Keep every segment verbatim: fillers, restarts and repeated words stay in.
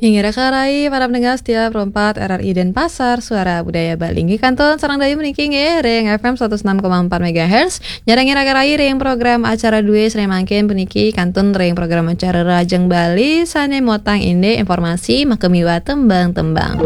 Inggih raka rai para pendengar setia Pro empat R R I Denpasar, Suara Budaya Bali. Inggih kantun sareng dayu puniki nggih ring F M seratus enam koma empat megahertz. Nyarengin raka rai ring program acara dué sané mangkin puniki kantun ring program acara Rahajeng Bali sané motang indik informasi makamiwah tembang-tembang.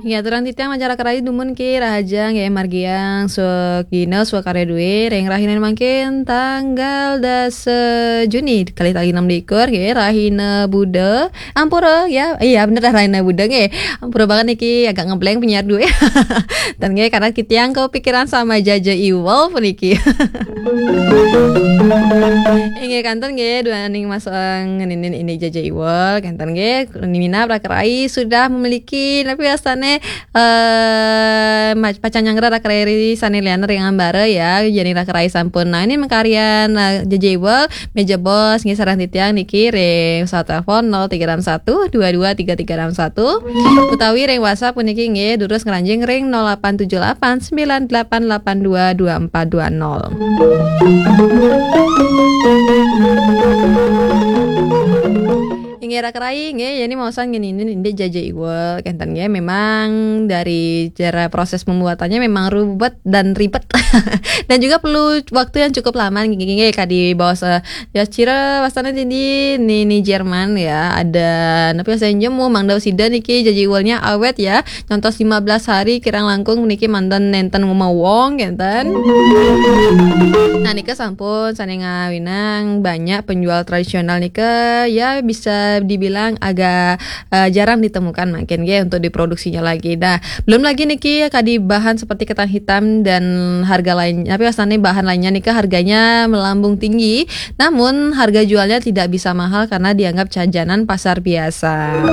Inggih aturang titiang mancara raka rai dumun ki rahajeng nggih margiang swagina swakarya dué ring rahina mangkin tanggal dasa Juni kalih tali enam likur nggih rahina Buda. Ampura ya. Iya bener dah rahina Buda nggih. Ampura banget niki agak ngeblank penyiar dué. Dan nggih karena titiang kepikiran sama Jaja Iwal puniki. Inggih kantun nggih duaning mas eh, ngeninin ini Jaja Iwal kantun nggih minab raka rai sudah memiliki tapi astané eh ma- pacang nyanggra raka rai sané lian ring ambara ya jadi raka rai sampun. Nah ini mengkaryan eh, Jaja Iwal meja bos nggih sareng titiang niki ring pesawat telepon nol tiga enam satu dua dua tiga tiga enam satu utawi ring WhatsApp puniki nggih durus ngranjing ring nol delapan tujuh delapan sembilan delapan delapan dua dua empat dua nol. Inggih raka rai nggih, ya ini maosan ngene ini indik Jaja Iwal kenten nggih memang dari cara proses pembuatannya memang ribet dan ribet dan juga perlu waktu yang cukup lama nggih kadi baos eh, ya cira wastane di di ni ni Jerman ya ada napi wastane jemu mangda sida niki Jaja Iwalnya awet ya nyontos lima belas hari kirang langkung niki manten nenten ngumawong kenten. Nah nika sampun sane ngawinang banyak penjual tradisional nika ya bisa dibilang agak eh, jarang ditemukan mungkin ya untuk diproduksinya lagi. Nah, belum lagi niki kadi bahan seperti ketan hitam dan harga lain tapi asalnya bahan lainnya nika harganya melambung tinggi. Namun harga jualnya tidak bisa mahal karena dianggap jajanan pasar biasa.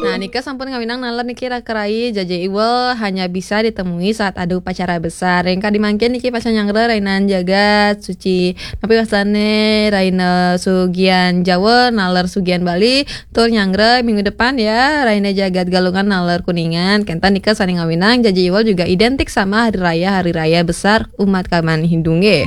Nah, nika sampun ngawinang nalar niki raka rai Jaja Iwal hanya bisa ditemui saat ada upacara besar. Yang kadi mangkin niki pacang nyanggra rainan jagat suci. Tapi wasane raina sugian Jawa nalar sugian Bali tur nyanggra minggu depan ya raina jagat Galungan nalar Kuningan. Kenten nika saning ngawinang Jaja Iwal juga identik sama hari raya hari raya besar umat kaman Hindu nggih.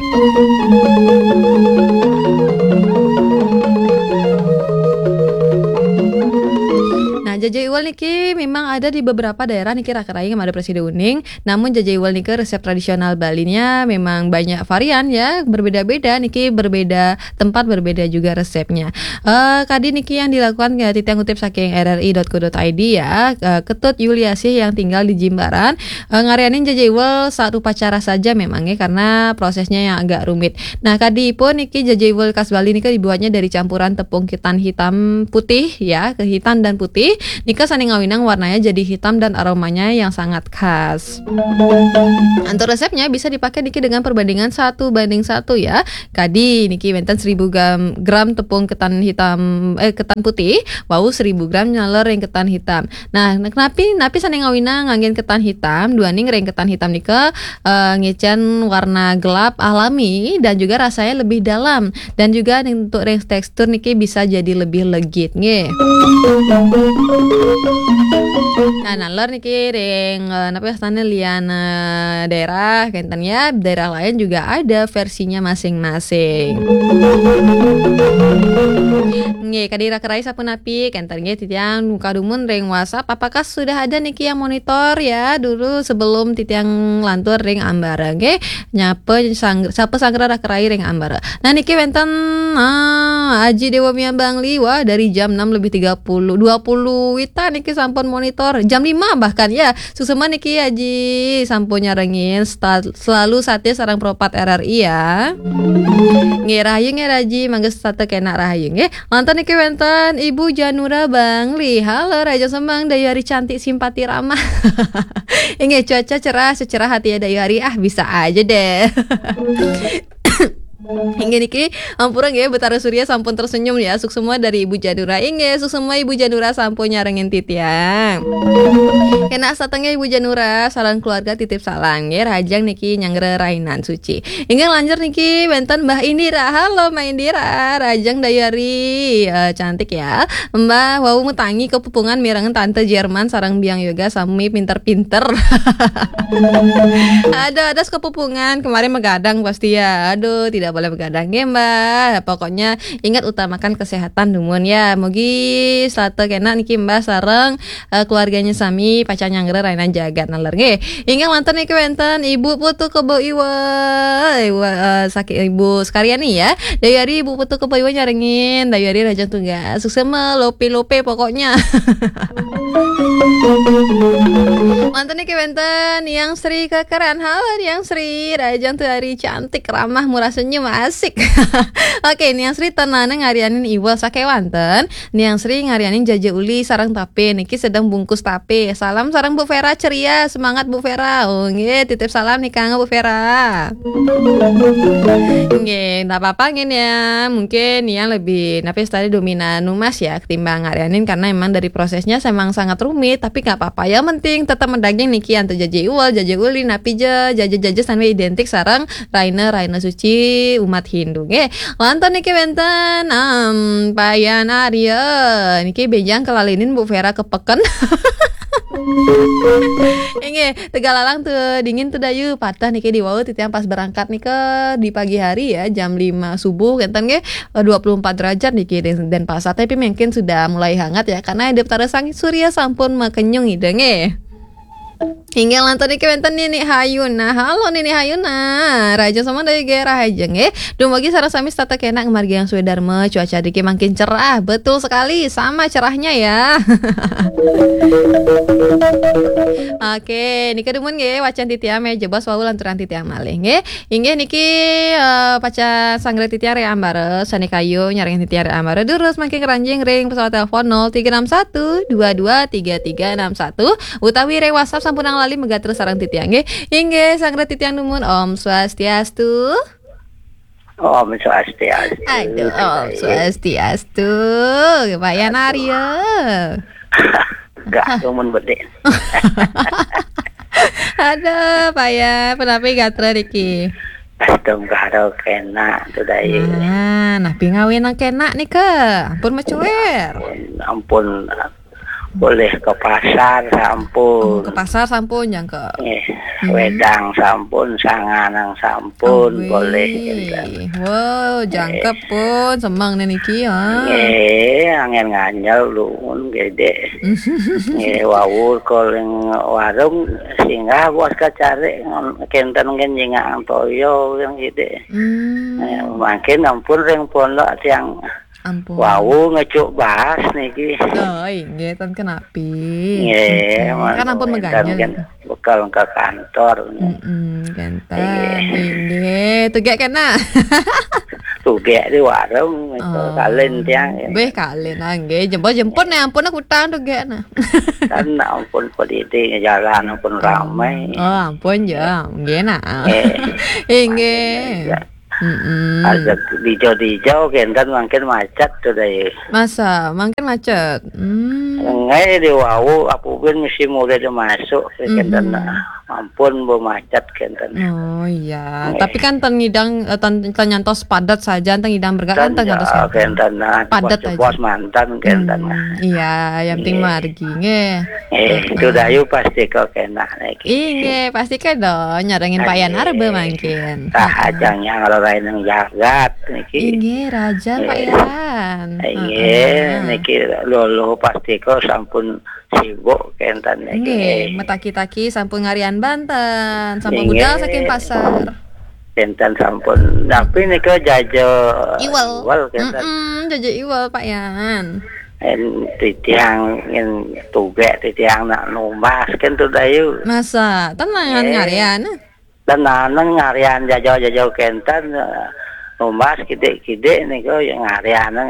Nah, Jaja Iwal niki memang ada di beberapa daerah niki raka rai ada presida uning. Namun Jaja Iwal nika resep tradisional Balinya memang banyak varian ya, berbeda-beda niki berbeda tempat berbeda juga resepnya. Eh kadi niki yang dilakukan ya titiang kutip saking R R I dot co dot I D ya, eh, Ketut Yuliasih yang tinggal di Jimbaran eh, ngarianin Jaja Iwal saat upacara saja memangnya karena prosesnya yang agak rumit. Nah, kadi pun niki Jaja Iwal khas Bali nika dibuatnya dari campuran tepung ketan hitam putih ya, kehitan dan putih. Nika saning ngawinang warnanya jadi hitam dan aromanya yang sangat khas. Untuk resepnya bisa dipakai niki dengan perbandingan satu banding satu ya. Kadi niki wenten seribu gram, gram tepung ketan hitam eh ketan putih, wau seribu gram nalar ring ketan hitam. Nah, napi napi saning ngawinang nganggen ketan hitam, duaning ring ketan hitam nika eh, ngecen warna gelap alami dan juga rasanya lebih dalam dan juga untuk ring tekstur niki bisa jadi lebih legit nggih. Nah, nalar niki ring eh, napi wastane lian eh, daerah kenten ya, daerah lain juga ada versinya masing-masing. Nggih, kadi raka rai sapunapi kenten nggih titiang muka dumun ring WhatsApp apakah sudah ada niki yang monitor ya dulu sebelum titiang lantur ring ambara nggih. Nyapa sang sapa sanggra raka rai ring ambara. Nah niki wenten ah, Aji Dewa Mia Bangli wah dari jam enam lebih tiga puluh dua puluh wita niki sampun monitor jam lima bahkan ya. Suksma niki Aji sampun nyarengin selalu satis sareng Pro empat R R I ya. Nggih rahayu nggih Aji mangga setata kenak rahayu nggih. Lantas niki wenten Ibu Janura Bangli. Halo Raja Semang Dayu Hari cantik simpati ramah. Inggih cuaca cerah secerah hati ya Dayu Hari ah bisa aja deh. Inggih niki, ampura nggih, Betara Surya sampun tersenyum ya. Suksma dari Ibu Janura. Inggih, suksma Ibu Janura sampun nyarengin titiang. Kena satengah Ibu Janura, sareng keluarga titip salam nggih, rahajeng niki nyanggra rainan suci. Inggih lanjur niki wenten Mbah Indira. Halo Mbah Indira, rahajeng dayari. Eh, cantik ya. Mbah wau matangi kepupungan mirengan Tante Jerman sareng Biang Yoga sami pinter-pinter. Aduh, ada kepupungan kemarin magadang pasti ya. Aduh, tidak boleh magadang nggih, Mbah. Pokoknya ingat utamakan kesehatan dumun ya. Mugi setata kena niki Mbah sareng eh, keluarganya sami pacang nyanggra rainan jagat naler nggih. Inggih wenten niki wenten Ibu Putu Kebo Iwa. Iwa eh, sakit Ibu Sekaryani ya. Dayari Ibu Putu Kebo Iwa nyarengin, dayari rahajeng tugas. Suksma lope-lope pokoknya. Manten niki wenten Niang Sri Kekeran. Halo Niang Sri, rahajeng tuari cantik, ramah, murah senyum, asik. Oke, Niang Sri ten naneng ngarianin iwel sakewanten. Niang Sri ngarianin jaja uli sareng tape, niki sedang bungkus tape. Salam sareng Bu Vera ceria, semangat Bu Vera. Oh, nggih, titip salam nih Kang Bu Vera. Nggih, ndak apa-apa nggih ya. Mungkin Niang lebih napi tadi dominan numas ya ketimbang ngarianin karena emang dari prosesnya emang sangat rumit, tapi nggak apa-apa. Yang penting tetap mendaging niki antuk jaja iwel, jaja uli, napi je, jaja-jaja sampai identik sareng raina, raina suci umat Hindu nggih. Wonten niki wenten em, Payan Arya. Niki benjang kelalinin Bu Vera kepeken. Inggih, Tegalalang tuh dingin tuh dayu. Patah niki di wau titiang pas berangkat nika di pagi hari ya, jam lima subuh kenten nggih, eh, dua puluh empat derajat niki di Denpasar. Tapi mungkin sudah mulai hangat ya karena hidup tarasang surya sampun makenyung ida nggih. Inggih lantur niki wenten Nini Hayuna. Halo Nini Hayuna. Raja sama dari Gera aja nggih. Dumugi sareng sami setata kena margi yang suwe Dharma, cuaca niki makin cerah. Betul sekali, sama cerahnya ya. Oke, niki dumun nggih wacan titiang meh jebos wau lanturan titiang malih nggih. Inggih niki eh, paca sanggra titiang Re Ambara, sane kayu nyarengin titiang Re Ambara. Durus makin keranjing ring pesawat telepon nol tiga enam satu dua dua tiga tiga enam satu utawi ring WhatsApp sampun lali megatra sareng titiang nggih. Inggih sanggra titiang dumun Om Swastiastu. Om Swastiastu. Aduh, Om Swastiastu. Pak Yan Arya. Gak tumun bedik. Aduh, Pak Yan, penapi gatra niki? Aduh, karo kena tuh dai. Nah, napi ngawinang kena nika? Ampun macuer. Ampun, ampun boleh ke pasar sampun. Oh, ke pasar sampun jangka. Eh, hmm. Wedang sampun, sanganang sampun, boleh. Wow, jangkep pun semang nih niki ya. Eh, angin nganjal lumun gede. Eh, wawur koling warung singgah bos kacari kenten ngen jingang toyo yang gede. Hmm. Eh, makin ampun ring pondok tiang ampun. Wau ngecuk bahas niki. Oh, inggih, ten kenapi. Nggih, kan ampun meganya. Kan bekal ke kantor. Mm-mm, ganteng. Inggih, tugek kena. Tugek di warung itu oh. Kalen tiang. Beh kalen nggih, jemput-jemput nih ampun aku utang tugek nah. Kan ampun pedidi jalan ampun ramai. Oh, ampun ya, nggih nah. Eh, inggih. Mm-mm. Ada dijau-dijau kenten makin macet tuh deh. Masa, makin macet. Hmm. Ngai di wau aku pun mesti mulai dia masuk kenten mm-hmm. Ampun bu macet kenten. Oh iya, tapi kan ten ngidang eh, ten, ten nyantos padat saja, ten ngidang bergerak kan ten nyantos kenten nah, padat aja. Bos mantan kenten hmm, nah. Iya, yang penting margi nggih. Eh, itu dayu pasti kok kena lagi. Inggih, pasti kok dong nyarengin payan arbe mangkin. Tah ajang yang lain yang jagat niki. Inggih, raja payan. Inggih, niki lolo pasti kok sampun sibuk kenten niki. Nggih, metaki-taki sampun ngarian Banten, sampun budal saking pasar. Kenten sampun. Tapi nika jaja iwal. Iwal kenten. Mm-mm, jaja iwal Pak Yan. En titiang en tugek titiang nak numbas kan tu dayu. Masa, tenang eh. Ngarian. Dan naneng ngarian jaja-jaja kenten. Eh, numbas kidik-kidik niku ya ngarianang,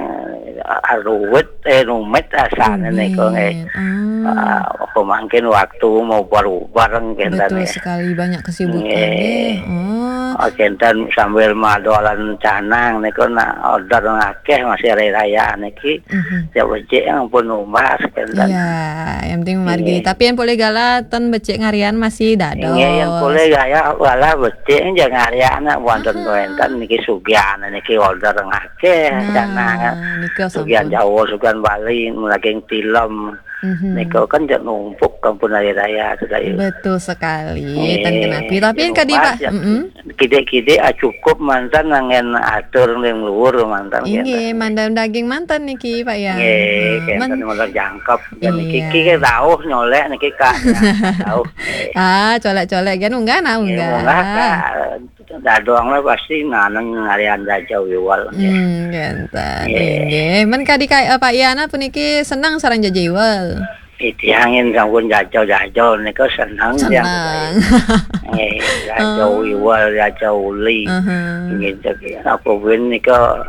ah, ruwet, eh, rumit asané niku nggih. Rumit. Hmm. Ah, apa mangkin waktu mau bareng-bareng kénten. Betul ya. Sekali, banyak kesibukan nggih. Nggih. Oh. Ah, kénten sambil madolan canang niku nak order akeh masih hari raya niki. Mhm. Ya becik ampun numbas kénten. Iya, yang penting margi. Nggih. Tapi yang boleh gala ten becik ngarian masih dados. Nggih, yang boleh gaya wala becik aja ngarian nak wonten. Aha. Wonten niki sugihan niki order akeh. Nah, canang. Nika sugihan sampun. Jawa, sugihan Bali, daging tilem. Mhm. Nika kan jek numpuk kampun hari raya sedaya. Betul sekali, nggih, ten kenapi. Tapi yang kadi, Pak, ya. Mm-mm. Kidik-kidik, ah, cukup manten angin atur ning luhur manten. Inggih, kénten. Mandam daging manten niki, Pak, ya. Nggih, ah, kénten men- modal jangkep. Dan niki, iya, ki dauh nyolek niki, Kak. Ya, dauh. Ah, colek-colek kan munggah, nah, nggih, munggah. Munggah, Kak. Dadong lah pasti naneng ngarian jaja wiwal, nggih. Hmm, kénten. Nggih. Inggih. Men kadi ka-, eh, Pak Yana puniki seneng sareng jaja wiwal. Titiang yen sampun jaja-jaja nika seneng tiang. Seneng. Nggih, jaja, oh, wiwal, jaja uli. Aha. Nggih, jadi apa ben nika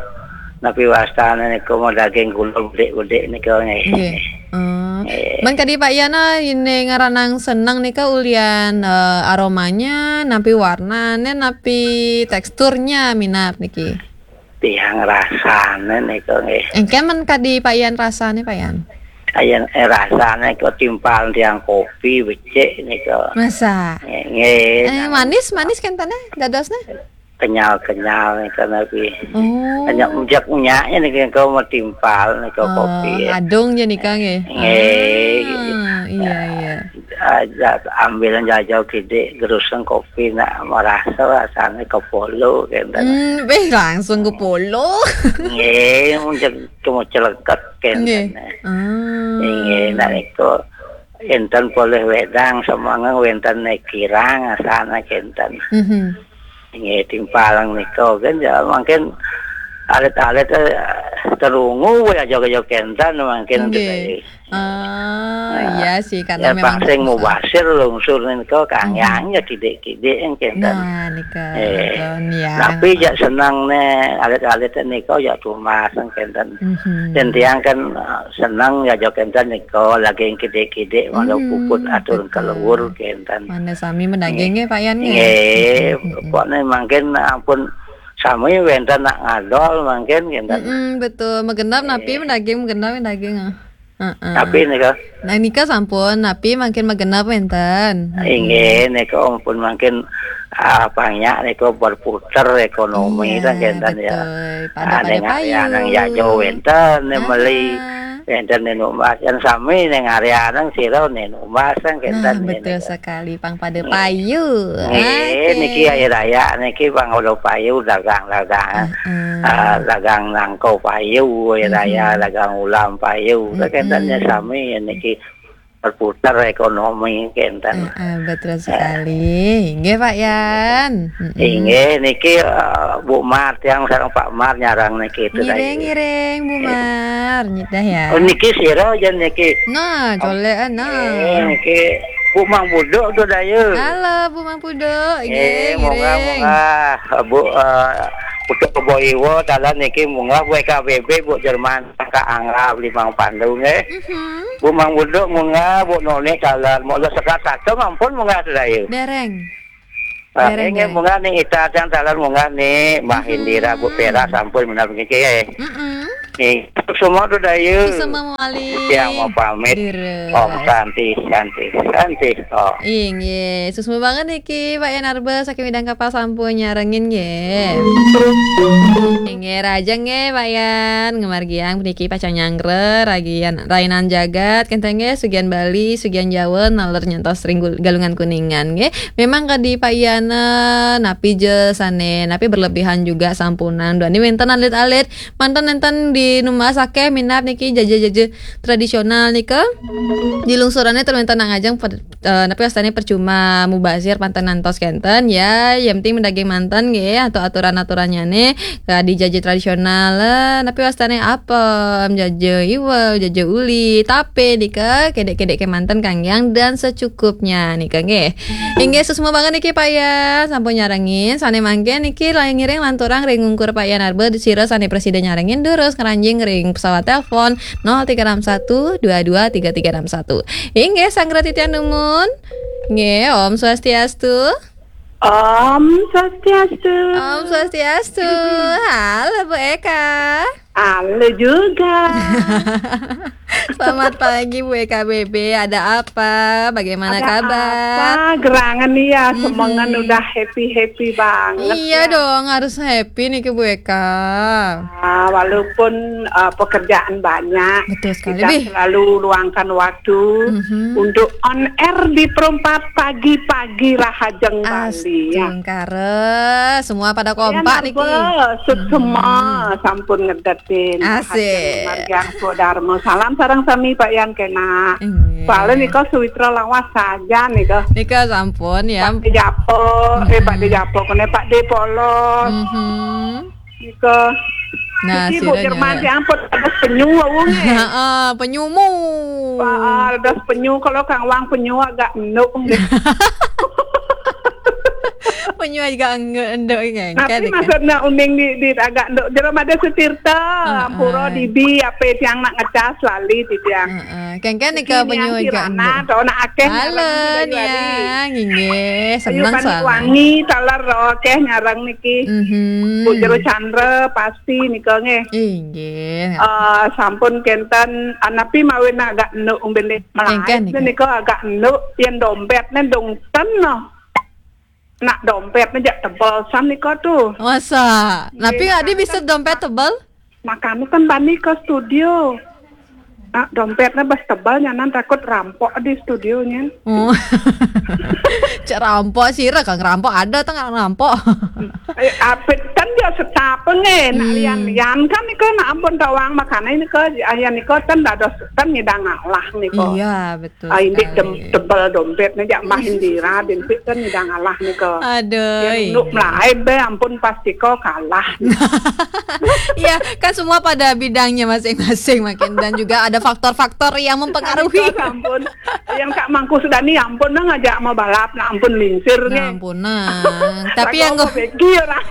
napi wastane nika mau daging kula bedik-bedik nika nggih. Nggih. Oh. Nggih. Men kadi Pak Yana ini ngaranang seneng nika ulian, eh, aromanya, napi warnane, napi teksturnya minat niki. Tiang rasane nika nggih. Engke men kadi Pak Yan rasane, Pak Yan? Ayen, eh, rasane kok timpal tiang kopi becik nika. Masa? Nggih, nggih. Eh, nang manis, manis kentane dadosne? Kenyal-kenyal nika napi. Oh. Hanya ujak unyaknya nika kau mau timpal nika, oh, kopi ya. Adung je nika nggih. Nggih. Ah, iya, iya. Aja ambilan jajal kidik geruseng kopi nak marasa rasane kepolo kenten. Hmm, beh, langsung kepolo. Nggih, mungkin cuma celeget kenten. Nggih. Ah. Nggih, nak niku enten polih wedang semangeng wenten kirang asana kenten. Mhm. Nggih, timpalang nika kan ya mungkin alit-alit, eh, terungu ya joget-joget kenten mungkin. Nggih. Gitu. Ah, nah, iya sih, karena ya, memang pang sing susah. Mubasir lungsur nika kang, mhm, yang ya kidik-kidik yang kenten. Nah, nika, eh, betul, ya. Tapi jak seneng ne alit-alit nika ya tumas kenten. Mhm. Dan tiang kan, eh, seneng ya joget kenten nika lagi yang kidik-kidik malah, hmm, puput atur, betul, keluar kenten. Mana sami mendaging nggih, Pak Yan nggih? Nggih, mhm, mhm, pokoknya mungkin ampun sami wenten nak ngadol mungkin kenten. Mm-mm, betul. Megenap napi, eh, mendaging megenap daging, ah. Heeh. Tapi nika. Nah, nika sampun, napi mangkin magenep wenten? Inggih, nika ampun mangkin, ah, banyak nika berputar ekonomi, iya, kan, kenten, ya. Betul. Pada, ada pada yang payu. Nang jajo wenten, nih, meli. Aha. Wenten nih numbas, yang sami nih ngarianang sira nih numbas, kan, kenten. Nah, nih, betul nika. Sekali, pang pada payu. Nggih, oke. Niki hari raya niki pang ulah payu dagang-dagang. Heeh. Ah, dagang nangko payu, hari raya, mhm, dagang ulam payu. Mhm. Kenten ya sami ya niki berputar ekonomi kenten. Heeh, betul sekali. Nggih, Pak Yan. Mm-mm. Inggih, niki, eh, Bu Mar, tiang sareng Pak Mar nyarang niki itu. Ngiring, tadi. Ngiring, Bu Mar. Nyidah ya. Oh, niki sira aja niki. Nah, colek, nah. Eh, niki Bu Mang Buduk tuh daya. Halo, Bu Mang Buduk. Eh, nggih, munggah, ngiring. Munggah. Bu, eh, Putu Kebo Iwo, dalan niki munggah, Bu E K B B, Bu Jerman, Kak Angga, beli Mang Pandu, nggih. Mhm. Bu Mang Buduk munggah, Bu Noni dalan, mau sekat satu mampun munggah sedaya. Dereng. Ah, dereng, inggih, dereng. Munggah nih, Ita yang dalan munggah nih, Mbah, mhm, Indira, Bu Pera, sampun benar begini, ya. Mm-mm. Nih, semua tuh daya. Semua mawali. Yang mau pamit. Dira. Om Santi, Santi, Santi. Oh. Inggih, susmu banget niki Pak Yan Arba saking Midang Kapal sampun nyarengin nggih. Inggih, raja nggih Pak Yan, ngemargiang puniki pacang nyanggra ragian rainan jagat kenten nggih, sugian Bali, sugian Jawa, naler nyantos ring gul-, Galungan Kuningan nggih. Memang kadi Pak Yan, eh, napi je sane, napi berlebihan juga sampunang. Duani wenten alit-alit, manten nenten Di numbas akéh minab niki jaja-jaja tradisional nika. Di lungsurannya terminta nak ngajeng per-, eh, napi wastane percuma mubazir panten ngantos kenten ya, yang penting mendaging manten nggih atau aturan-aturannya nih di jaja tradisional, eh, napi wastane apem, jaja iwel, jaja uli, tape nika kedek-kedek kemanten kanggiang dan secukupnya nika nggih. Inggih, suksma banget niki Pak Yan, sampun nyarengin. Sane mangke niki ngiring lanturang ring ungkur Pak Yan Arbe sira sane prasida nyarengin durus ngranjing ring pesawat telepon nol tiga enam satu dua dua tiga tiga enam satu. Inggih, sanggra titiang dumun. Nggih, Om Swastiastu. Om Swastiastu. Om Swastiastu. Halo Bu Eka. Halo juga. Selamat pagi Bu Eka B B. Ada apa? Bagaimana Ada kabar? Apa? Gerangan nih ya, Mhm. semengan udah happy-happy banget Iya ya. dong, harus happy nih ke Bu Eka. Ah, walaupun, eh, pekerjaan banyak, Betul sekali, kita Bih. selalu luangkan waktu Mhm. untuk on air di Perempat Pagi-Pagi Rahajeng Bali ya. Astungkara, semua pada Yan kompak niki. Arba, suksma, Mhm. sampun ngedetin. Asik. Rahajeng Margiang Swadharma. Salam sareng sami Pak Yan kena. Inggih. Soalnya nika suwitra lawas saja nika. Nika sampun ya. Pak De Japo, eh, Pak De Mhm. Japo, kene Pak De Polos. Mhm. Nika. Nah, Niki Bu siranya Jerman ya. Siang pun ada penyu wau nggih. Heeh, penyumu. Pak, ada penyu, kalau kang wang penyu agak enduk nggih. Penyu juga enduk nggih. Tapi Kan nika. maksudnya uning di, di agak enduk. Jero ada Sutirta, Heeh. Ampura Dibi, apa tiang nak ngecas lali di tiang. Heeh. Kengken nika Niki penyu niang juga kirana, enduk. to nak akeh Halo, nyarang niki Dayu Ari. Niang. Inggih, Ayu seneng Panik soalnya. Wangi, taler ro akeh nyarang niki. Mhm. Bu Jero Chandra, pasti nika nggih. Inggih. Eh, sampun kenten, anapi mawin agak enduk umbene Kengken melait nika. nika agak enduk, yen dompetne dongten no. Nak dompetnya jak tebel san nika tuh. Masa? Nggih, Napi adi makanya bisa kan dompet tebel? Makanya kan bani ke studio. Nak dompetnya bas tebel nyanan takut rampok di studionya. Oh. Cek rampok sira kang rampok ada tengah rampok. Eh, apit kan dia setapa nggih, nak Hmm. lian-lian kan nika nak ampun tawang makanya nika, ayan nika kan dados kan ngidang ngalah nika. Iya, betul Ah, indik sekali. dem-, tebel dompetnya jak mah Indira, dimpit kan ngidang ngalah nika. Aduh. Yang nuk melai be, ampun pasti kau kalah. Iya, kan semua pada bidangnya masing-masing makin dan juga ada faktor-faktor yang mempengaruhi. Nika ampun. Yang Kak Mangku sudah nih ampun nah ngajak mau balap, nah ampun lingsir Nah, nggih. ampun nah. Tapi Lagu yang apa go- begi orang.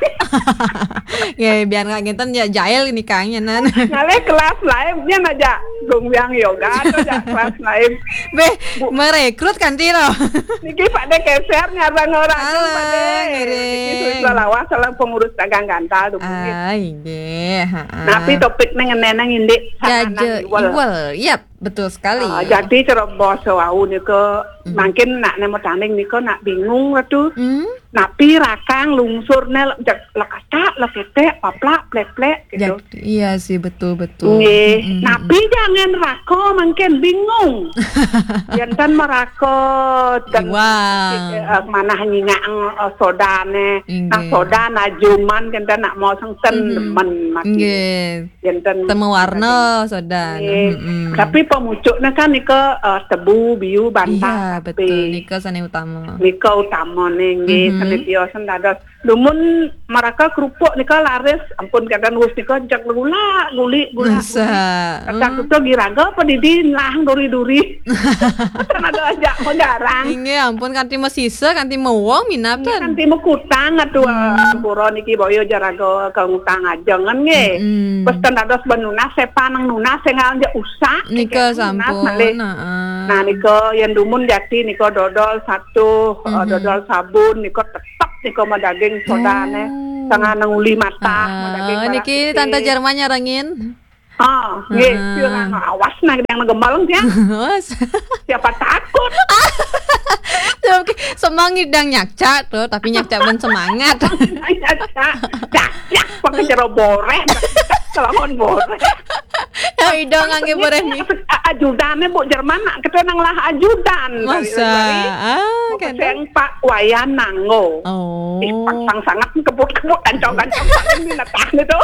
Ya, biar nggak ngenten ya jail nikahnya nan. Ngalih kelas lain, dia ngajak gongbiang yoga atau ajak kelas lain. Beh, Bu. merekrut kan tiro. Niki Pak De keser nyarang orang Halo, Pak De. ngiring. Niki Suwitra Lawas salah pengurus dagang gantal tuh. Ah, inggih, ha. Tapi topiknya ngenenang indik Jaja sanganan iwel. iwel. Yap, betul sekali. Ah, jadi cara basa wau nika Hmm. mungkin nak nemu tanding nika nak bingung lah tuh. Hmm. Napi rakang lungsur ne le-, jak lekacak, leketek, paplak, plek-plek gitu. Jad-, iya sih, betul, betul. Nggih. Mm-mm. Napi jangan rako mungkin bingung. Jantan merako dan Iwang. eh, manah nyingak, eh, sodane. Nah, Inggih. soda nah juman jantan nak mau sengsen Mhm. demen mati. Inggih. Jantan Temu warna soda. Nggih. Mm-mm. Tapi pemucuknya kan nika, eh, tebu, biu, bantah, Iya, tapi betul. Nika sane utama. Nika utama nih, nggih, Mhm. sane tiosen dados. Dumun mereka kerupuk nika laris, ampun kadang wis nika jak gula, guli, gula, Masa? guli. Kata Hmm. tutu giraga apa didi lah duri-duri. Kan ada ajak megarang. Inggih, ampun kanti mesisa, kanti mewong minab Ini tan. kan timu kutang atuh Hmm. pura niki boyo jaraga kang utang ajengan nggih. Hmm. Pas ten dados ben nunas sepan nang nunas sing ngalih usak Nika niki nunas sampun, malih. heeh. Nah, nika yen dumun jati nika dodol satu, eh, Mhm. dodol sabun nika tetep nika madaging sodane. Oh. Tengah nang uli mata, Ah, madaging niki merah putih. Tante Jerman nyarengin. Ah, nggih, Heeh. sira awas nah yang gembal ya. Awas. Siapa takut? Oke, semangit dang nyakca tuh, tapi nyakca ben semangat. Nyakca, cak, cak, pakai jero boreh, kelawan boreh. Ya, idong ngangge boreh mi. Ajudane Bu Jerman nak kita nang lah ajudan. Masa? Ah, Mau kan. Peseng Pak Wayan Nanggo. Oh. Ih, pangsang sangat kebut-kebut, kancang-kancang, paling binatang itu.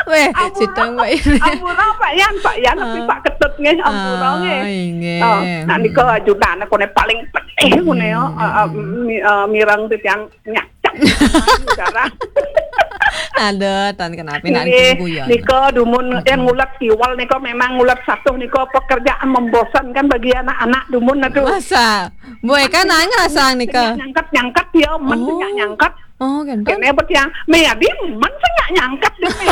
Weh, ampura, sitang Pak Yan. Ampura Pak Yan, Pak Yan, tapi ah, Pak Ketut nggih, ampura nggih. Ah, inggih. Oh, nah, nika ajudan koné paling penting koné ya. Hmm, ah, ah, hmm, mi-, ah, mireng titiang nyacak. Darah. Aduh, tan kenapa nak nggih, guyon. Nika dumun, hmm, yang ngulet siwal nika memang ngulet satuh nika pekerjaan membosankan bagi anak-anak dumun aduh. Masa? Boy kan ngerasa nika. Nyangkat, nyangkat ya, men, oh, nyangkat. Oh, kénten. Kéné bet yang, mé adi men sing nyangkat deh, mé.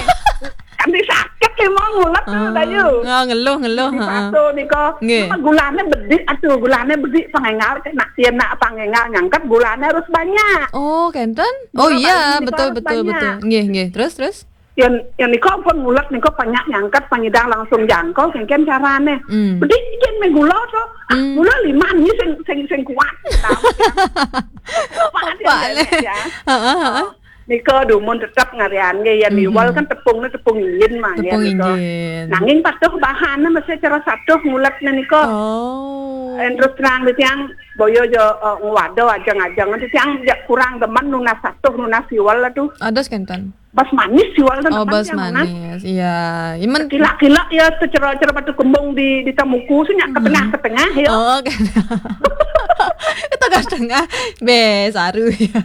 Kan di sakit lé mau ngulet tuh, oh, Dayu. Oh, ngeluh, ngeluh, heeh. Satu nika, nggih. Gulanya bedik, aduh, gulanya bedik, pangéngal, nak, yén nak pangéngal nyangkat, gulanya harus banyak. Oh, kénten? Oh, gula iya, Bali nika betul, harus betul, banyak. Betul. Nggih, nggih. Terus, terus? Yén, yén nika pun ngulet nika banyak nyangkat, panyidang langsung jangkau, kénkén carané. Hmm. Bedik jen mé gula to. Ah, hmm, gula lima nih sing, sing, sing kuat. Tahu ya. Apa dia, ya? Heeh, heeh. Nika dumun tetep ngarian nggih, yén, mhm, siwal kan tepungné tepung injin mah, ya, tepung nika. Injin. Nanging patuh bahané mesti cara satuh nguletné nika. Oh. Yén terus terang titiang boyo jo, eh, ngwado ajeng-ajeng titiang ja kurang demen nunas satuh nunas siwal aduh. Ados kénten. Bas manis siwal kan. Oh, bas manis. Iya. Imen kila-kila ya secara-cara batu kembung di, di tamuku sih nyak ke tengah-ke tengah ya. Oh, kénten. Ke tengah-tengah. Bé, saru ya.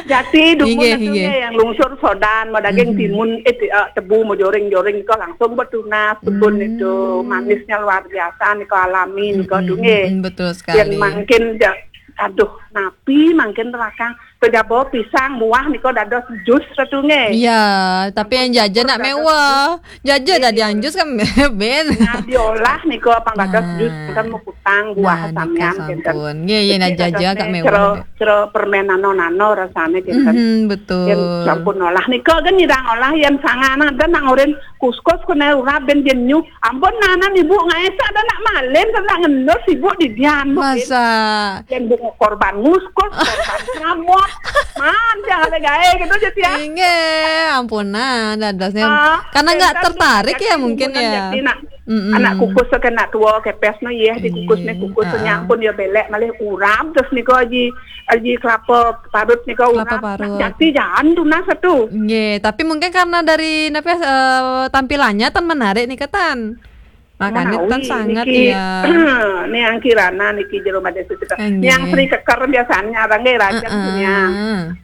Jati dumun inggih, itu inggih. Yang lungsur sodan, mau daging, mhm, timun, eh, ti-, eh, tebu mau joring-joring itu langsung betunas, kebun itu. Hmm. Manisnya luar biasa nih, kau alami nih, kau, mm-mm, dunge. Mm-mm, betul sekali. Yang mangkin ja-, aduh, napi mangkin terakang. Kejabo pisang, buah nih, kau dados jus setunge. Iya, tapi yang jajan nak mewah. Jaja tadi anjus kan ben. Nah, diolah nika pang dados jus kan mau kutang buah. Nah, nika samian, sampun. Nggih, yén jaja agak mewah. Cero, cero permen nano-nano rasané kénten. Mhm, betul. Yén sampun olah nika kan nyidang olah yén sanganan ada nang urin kuskus kena urap ben jenyu. Ampun nanan ibu ngaésa ada nak malin, ada nak ngendus ibu di dian, Bu. Masa? Yén Bu korban nguskus, korban nyamot. Man, jangan ada gaé gitu aja ya. Inggih, ampunan dadosnya. Ah, karena nggak tertarik ya mungkin ya. Anak kukus ke anak tua kepes no yeh dikukus nih kukus nyampun ya belek malih urap terus nih kok aji, aji kelapa parut nih kok urap. Kelapa parut. Jati jangan tunas satu. Nggih, tapi mungkin karena dari napa eh, tampilannya tan menarik nih ketan. Makanya tan sangat niki, ya. Nih yang kirana niki jero madé suci. Nggih. Yang Sri Keker biasanya abang nggih rajang punya.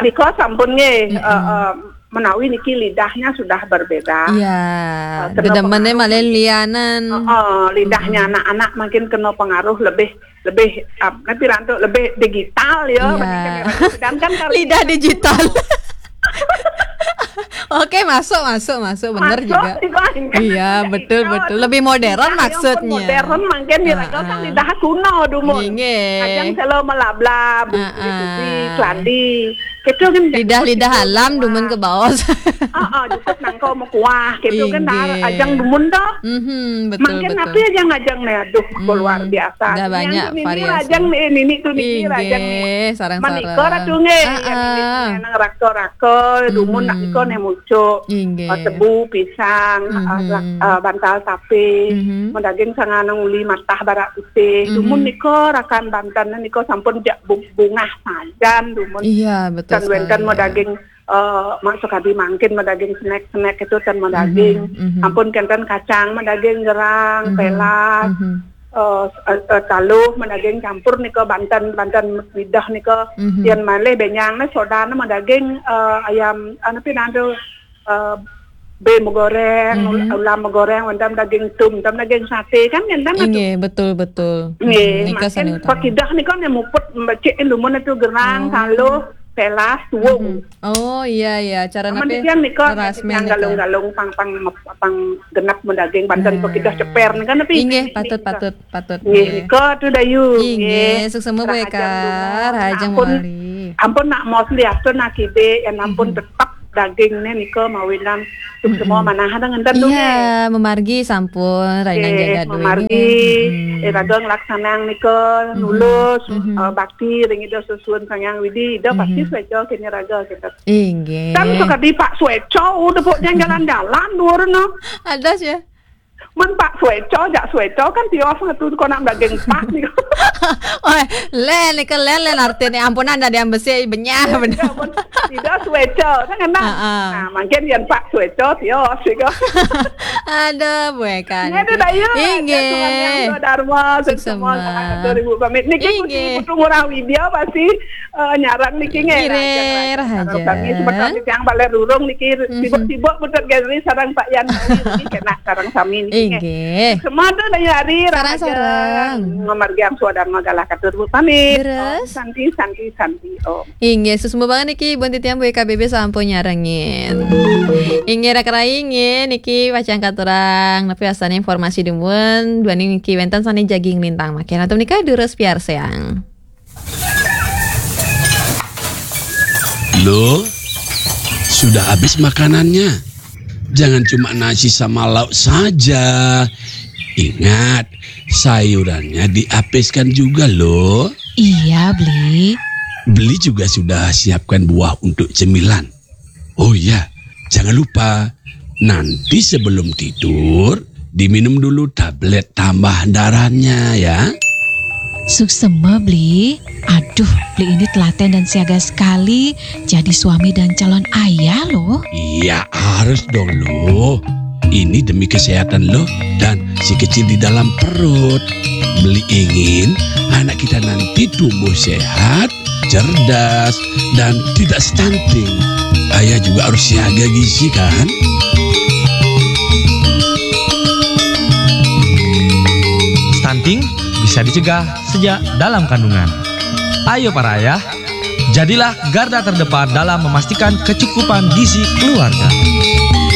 Nika sampun nggih, eh, eh, menawi niki lidahnya sudah berbeda. Iya, eh, kena dedemennya pengaruh malah lianan. Eh, eh, lidahnya anak-anak makin kena pengaruh lebih, lebih, eh, nanti rantuk lebih digital ya. Iya. Sedangkan kalau lidah digital. Oke, masuk, masuk, masuk, bener juga. Iya, betul, betul. Lebih modern maksudnya. Modern mungkin ya, kan lidah kuno dulu. Nggih. Ajang selo melablab, keladi. Gitu kan. Lidah-lidah alam dumun ke bawah. Ah, ah, cukup nangko mau kuah, gitu kan. Ajang dumun toh. Mhm, betul, betul. Mungkin tapi ajang-ajang nih, aduh, luar biasa. Udah banyak variasi. Ajang nih, ini tuh nih, ajang nih. Sarang-sarang. Manika ratu nggih. Heeh. Nang raka-raka dumun nak nika nih mucuk. Inggih. Eh, tebu, pisang, eh, rak-, eh, bantal tapé, mau daging sangan uli matah barak putih. Dumun nika rakan banten nika sampun jak bu-, bungah sajan dumun. Iya, betul sekali. Wénten mau daging, eh, masuk adi mangkin mau daging snack-snack itu kan mau daging. Ampun kénten kacang mau daging gerang, pelas. Eh, eh, eh, taluh, madaging campur nika, banten, banten lidah nika. Yén malih bénjang né sodané madaging, eh, ayam, anu pi nandu, eh, bé megoreng, ul-, ulam megoreng, wénten daging tum, wénten daging saté kan, kan, kan. Inggih, betul, betul. Nggih, nika makin sane utama. Pakidah nika né muput becik lumun itu gerang, taluh, pelas, tuwung. Oh, iya, iya, cara napi? Aman nika, ras yang galung-galung pang, pang, pang genep madaging banten pakidah ceper nika napi? Inggih, patut, patut. Patut, nggih. Nika tu Dayu. Inggih, nggih. Sukses semua, Bu Eka. Rahajeng mawali. Ampun nak mos liatur nak kibik, yén ampun tetep daging né nika mawinan sukses semua manah ada ngenten tu. Iya, memargi sampun, rahajeng jaga duit. Memargi, eh, raga nglaksanang nika nulus, eh, bakti ring Ida sesuun Sang Hyang Widi, Ida pasti sueca kéné raga kita. Inggih. Kan sekadi Pak Sueca, udah pokoknya jalan-jalan, dua no. Ada sih ya. Men Pak Sueco, jak Sueco kan tios ngetu ko nak daging Pak ni. Oh, lén, nika lén, lén artinya, ampunan, ada yang besi, benyah, bener. Tidak Sueco, kan enak. Ah, ah. Nah, mungkin yang Pak Sueco tios ni ko. Ada, bukan. Ini ada daya. Inggih. Darma, Suksema. Semua dua ribu pamit. Niki Inggih. Putu Ngurah Widya pasti eh, nyarang niki nggih. Inggih, Raja, raja. Sareng sami sebentar niki yang balik rurung niki sibuk-sibuk Putu Gazri sareng Pak Yan niki kena sareng sami niki. Inggih. Semua tu dari hari Sarang-sarang. Ngamargiang suadharma galah katur pamit. Terus? Om Santi, Santi, Santi. Om. Inggih, suksma banget niki, buat titiang B K B B sampun nyarengin. Inggih, rak rai, inggih, niki pacang katurang nepi wastan informasi dumun, duaning niki wénten sané jagi nglintang makin. Antuk menika durus piarsayang. Loh, sudah habis makanannya? Jangan cuma nasi sama lauk saja. Ingat, sayurannya dihabiskan juga loh. Iya, Bli. Beli juga sudah siapkan buah untuk cemilan. Oh iya, jangan lupa, nanti sebelum tidur, diminum dulu tablet tambah darahnya ya. Suksema, Bli. Aduh, Bli ini telaten dan siaga sekali. Jadi suami dan calon ayah loh. Iya, harus dong loh. Ini demi kesehatan loh dan si kecil di dalam perut. Beli ingin anak kita nanti tumbuh sehat, cerdas, dan tidak stunting. Ayah juga harus siaga gizi kan? Stunting bisa dicegah sejak dalam kandungan. Ayo para ayah, jadilah garda terdepan dalam memastikan kecukupan gizi keluarga.